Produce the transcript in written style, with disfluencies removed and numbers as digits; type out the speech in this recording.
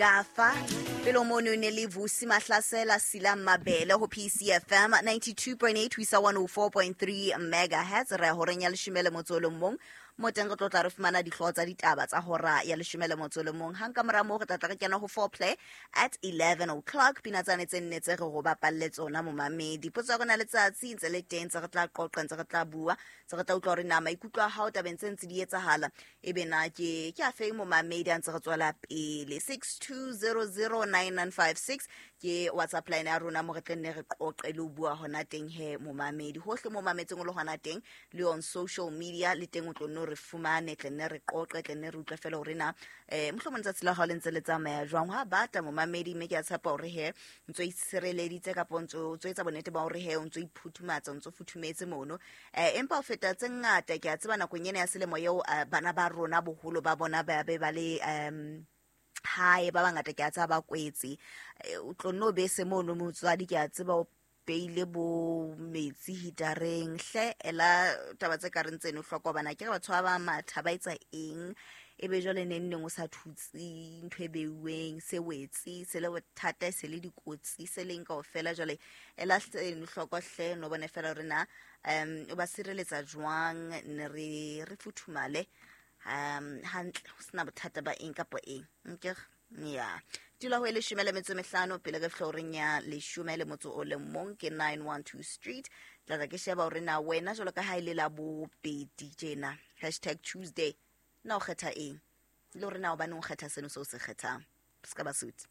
Gafa. Pele mono ne le Vusi Mahlasela Silang Mabele ho PCFM 92.8 ho isa 104.3 megahertz. Re ya horeng ya leshome le motso o le mong, mo teng re tlo tla re fumana dihlooho tsa ditaba tsa hora ya leshome le motso o le mong. Hang ka mora moo re tla tla re kena ho foreplay at 11 o'clock. Pina tsane tse nne tse re go bapalle tsona, momamedi. Potso ya rona letsatsi ntse le teng, tse re tla qoqa, ntse re tla bua, tse re tla utlwa hore na maikutlo a hao tabeng tse ntse di etsahala ebe na ke a feng, momamedi. A ntse re tswela pele, 62009956 ke WhatsApp line ya rona, mo re tla nne re qoqe le ho bua hona teng he, momamedi. Hohle mo mametseng o le hona teng, le on social media le teng o tlo nne o re fumane, tle nne re qoqe, tle nne re utlwe fela hore na mohlomong letsatsi la hao le ntse le tsamaya jwang. Ha bata, momamedi, mme ke a tshepa hore he ntso itshireleditse kapa o ntso etsa bonnete ba hore he o ntso iphuthumatsa, o ntso futhumetse mono. Empa ho feta tse ngata, ke a tseba nakong ena ya selemo eo, bana ba rona boholo ba bona ba be ba le hae, ba bangata ke a tseba ba kwetse. O tlo nno bese mono, motswadi, ke a tseba o beile bo metsi hitareng hle. Ela taba tse ka reng tseno hloko bana ke re batho ba ba matha ba etsa eng, e be jwale neng neng o sa thutse ntho e beuweng, se wetse, se le bothata, se le dikotsi, se leng kaofela. Jwale ela seno hloko hle, no bone fela hore na o ba sireletsa jwang, ne re futhumale hantle, ho sena bothata ba eng kapa eng. Nke ya dula ho e 15 pele re fihla horeng ya 11. Ke 912 Street. Tla tla ke sheba hore na wena jwalo ka ha e le la bobedi tjena, #Tuesday, na o kgetha eng, le hore na hobaneng o kgetha seno seo se kgethang. Se ka ba suti.